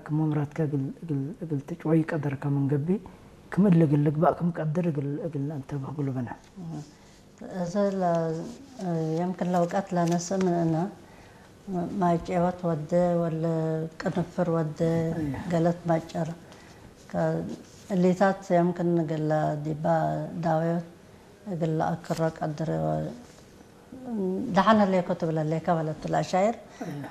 ክመምራትካ እግል ትጭወይ ቀደርካ መንገቢ ክምል እግል ልግባእ ክም ቀድር እግል እንተብህ ጉልበና። እዚ የምክን ለውቀት ለነስእ ምንእና ማይጨወት ወደ ወለ ቅንፍር ወደ ገለት ማጨር እሊታት የምክን ግላ ዲባ ዳወዮት እግል ለኣክሮ ቀድር ደሓን ህሌኮ ትብለ ሌካ በለት ለኣሻይር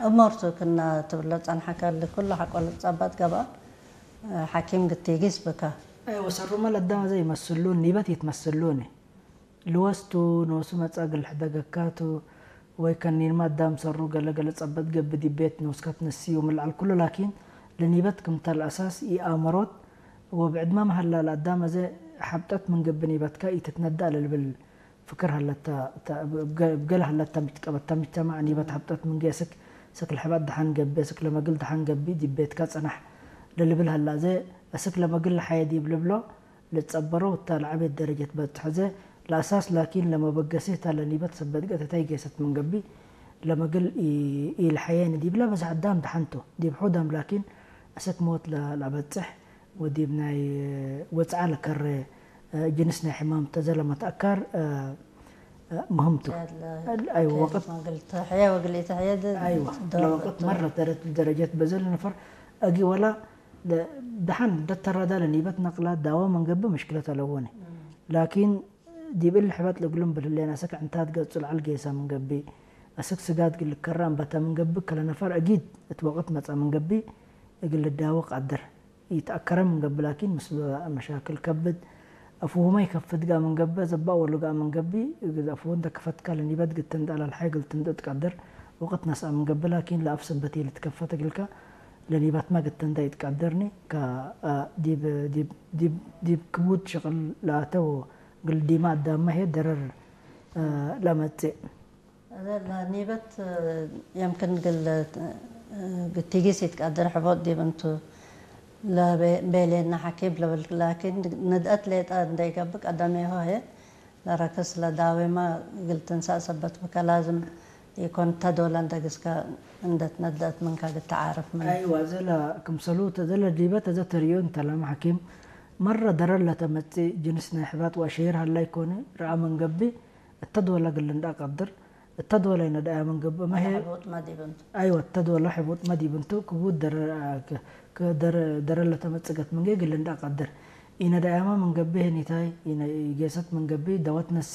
እመርቱ ክና ትብሎ ጸንሓካ ልኩሉ ሓቆ ልጻባት ገባ ሓኪም ግቲጊስ ብካ ወሰሩመ ለዳመ ዘይመስሉን ኒበት ይትመስሉኒ ልወስቱ ኖሱ መጻ ግል ሕደገካቱ ወይ ከኒንማ ኣዳም ሰሩ ገለ ገለ ጸበት ገብእ ዲቤት ኖስካ ትነስዩ ምልዓል ኩሉ ላኪን ለኒበት ክምታ ለኣሳስ ኢኣመሮት ወብዕድመ መሃላ ለኣዳም ኣዘ ሓብጠት ምን ገብእ ኒበትካ ኢትትነዳእ ለልብል ፍክር ሃለታ እታ እብ ገለ ሃለታ ምጭቀበታ ምጅተማዕ ኒበት ሓብጠት ምን ገየ ስክ ስክ ለሕባት ደሓን ገብእ ስክ ለመግል ደሓን ገብእ ዲቤትካ ጸናሕ ለልብል ሃላ ኣዘ እስክ ለመግል ለሓየ ዲብ ልብሎ ልትጸበሮ እታ ለዓቤት ደረጀት በጽሖ ዘ ለኣሳስ ላኪን ለመበገሲ እታ ለኒበት ሰበት ገተታይ ጌሰት ምን ገብእ ለመግል ኢልሓየኒ ዲብላ በዝሕ ኣዳም ደሓንቶ ዲብ ሑዳም ላኪን እስክ ሞት ለኣበጽሕ ወዲብ ናይ ወጽዓ ለከረ ጅንስ ናይ ሕማም ተዘለመት ኣካር ምህምቱ ኣይወ ወቅት መግል ተሕየ ወግል ተሕየ ኣይወ ለወቅት መረ ተረት ደረጀት በዘል ነፈር ኣጊ ወላ ደሓን ደተራዳ ለኒበት ነቅላ ዳዋ መንገቢ ምሽክለት ኣለወኒ ላኪን ዲብ እል ሕበት ልግሉም ብልሌን ኣሰክ ዕንታት ገጹ ለዓል ጌሳ ምንገቢ ኣሰክ ስጋድ ግልከራ እምበታ ምንገቢ ከለነፈር ኣጊድ እት ወቅት መጻ ምንገቢ እግል ልዳወ ቃድር ኢተኣከረ ምንገቢ ላኪን ምስ መሻክል ከብድ ኣፍሁመ ይከፍት ጋ ምንገቢ ዘባእ ወሉ ጋ ምንገቢ እግዝ ኣፍሁ እንተ ከፈትካ ለኒበት ግትን ዳላ ለሓይ ግልትን ትቀድር ወቅት ነስኣ ምንገቢ ላኪን ለኣፍ ሰበት ልትከፈት እግልካ ለኒበት ማ ግትን ዳ ይትቀድርኒ ካ ዲብ ዲብ ዲብ ዲብ ክቡድ ሽቅል ለኣተው ግል ዲማ ኣዳማ ሄ ደረር ለመጽእ ኒበት የምክን ግል ግቲጊስ ይትቀድር ሕቦጥ ዲብ እንቱ ለቤሌና ሓኪም ለብል ላኪን ንድአት ሌጣ እንደይገብእ ቀደሜሆ ሄ ለረክስ ለዳዌማ ግል ትንሳእ ሰበት ብከ ላዝም ኢኮን ተዶለ እንደግስከ እንደት ነድአት ምንከ ግትዓርፍ ምን። ኣይዋ ዘለ ክምሰሉ ተዘለ ዲበት ተዘ ተሪዮ እንተላም ሓኪም መረ ደረር ለተመጽእ ጅንስ ናይ ሕባጥ ወአሸይር ሀላይ ኮነ ረአ መንገቢ እተድወለ ግል እንዳ ቀድር እተድወለ ይነዳያ መንገቢ መሄ ሕቡጥ መዲብ እንቱ። ኣይወ እተድወለ ሕቡጥ መዲብ እንቱ ክቡድ ደረር ደረር ለተመጽገት መንገ ግል እንዳ ቀድር ኢነዳያማ መንገቢ ሄኒታይ ኢነ ኢጌሰት መንገቢ ደወት ነሲ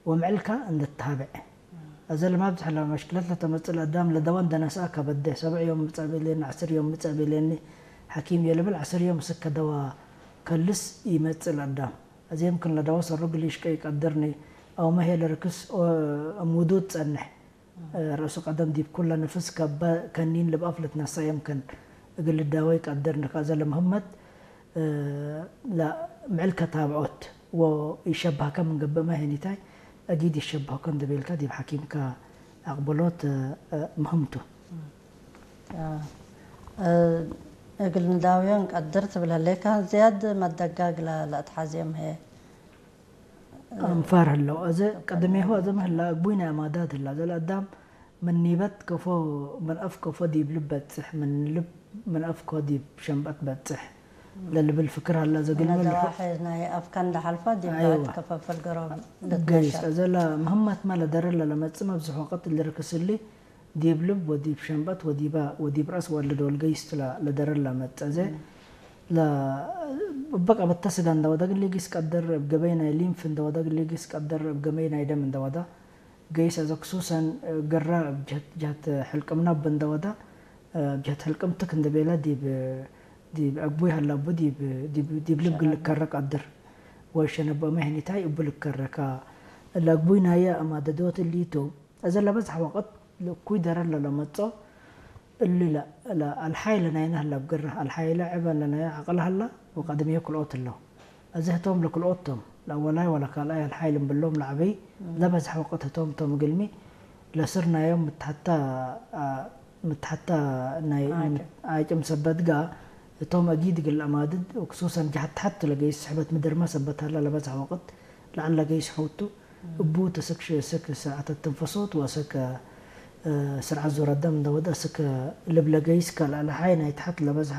ወምዕልካ እንደተሃበዐ። እዘ ለማብዝሕ ለመሽክለት ለተመጽእ ለአዳም ለደወ እንደነስአ ከበደ። ሰብዕ ዮም ምጸእ ቤሌኒ፣ ዐስር ዮም ምጸእ ቤሌኒ ሐኪም የልብል ዐስር ዮም እስከ ደወ ከልስ ኢመጽእ ለአዳም። እዜ የምክን ለደወ ሰሩ ግል ይሽቀ ኢቀድርኒ አውመ ሄ ለርክስ እም ውዱድ ጸንሕ። ረእሱ ቀደም ዲብ ኩለ ንፍስ ከበ ከኒን ልብአፍ ልትነሳ የምክን እግል ልዳወ ኢቀድርኒ። ከእዘ ለምህመት ለምዕል ከታብዖት ወኢሸባህከ ምን ገብእ ማይ ሄኒታይ አጊድ ይሸባህከ እንደ ቤልካ ዲብ ሐኪምከ አቅበሎት ምህምቱ። እግል ንዳውዮ እንቀድር ትብል ህሌካ ዝያድ መደጋግ ለአትሓዝዮም ህየ። አንፋር ህለው። እዘ ቀደሜሁ እዘ ምህላ እግቡይ ናይ አማዳት ህላ። እዘ ለአዳም ምን ኒበት ከፎ ምን አፍ ከፎ ዲብ ልብ በጽሕ፣ ምን ልብ ምን አፍ ኮ ዲብ ሸንበት በጽሕ ለልብል ፍክር ሀላ። እዘ ግልሚ ልሑ- ናይ አፍካ እንዳሓልፋ ዲብ ባት ከፈፍል ገሮም ገይስ። እዘ ለምህመትመ ለደረለ ለመጽእ መብዝሕ ወቅት ልርክስሊ ዲብ ልብ ወዲብ ሸንበት ወዲባ ወዲብ ረእስ ወለደወል ገይስት ለደረለ መጸ። እዘ በቃ በተስጋ እንደወዳ ግን ሊጊስ ቀደር እብ ገበይ ናይ ሊምፍ እንደወዳ ግን ሊጊስ ቀደር እብ ገበይ ናይ ደም እንደወዳ ገይስ። እዘ ክሱሰን ገራ እብ ጀህት ጀህት ሕልቅምና እብ እንደወዳ እብ ጀህት ሕልቅምትክ እንደቤላ ዲብ ዲብ አግቡይ ሀላቡ ዲብ ዲብ ዲብ ልብ ግልከረ ቀድር ወሸነቦመ ህኒታይ እቡ ልከረካ ለአግቡይ ናየ አማደዶት እሊቱ። እዘ ለበዝሐ ወቅት ለእኩይ ደረር ለለመጾ እሊ ለአልሓይ ለናይነ ሀላ ብግረ አልሓይ ለዐበ ለናየ ዐቅል ሀላ ወቀድምየ ክልኦት እለው። እዘ ህቶም ለክልኦት ቶም ለአወላይ ወለካልኣይ አልሓይ ልንብሎም ለዐበይ ለበዝሐ ወቅት ህቶም ቶም እግልሚ ለስር ናዮም ምትሐታ ምትሐታ ናይ ዓጭም ሰበት ጋ እቶም አጊድ እግል አማድድ ወክሱሰን ጀሀት ተሐት ለገይስ ስሕበት ምድርመ ሰበት ሀላ ለበዝሐ ወቅት ለዐል ለገይስ ሐውቱ እቡ ተስክ ስክ ስርዓተ ትንፈሶት ወስክ ስርዓት ዙረ ደም እንደወደ ስክ ልብ ለገይስ ከልአለሓይ ናይ ተሐት ለበዝሐ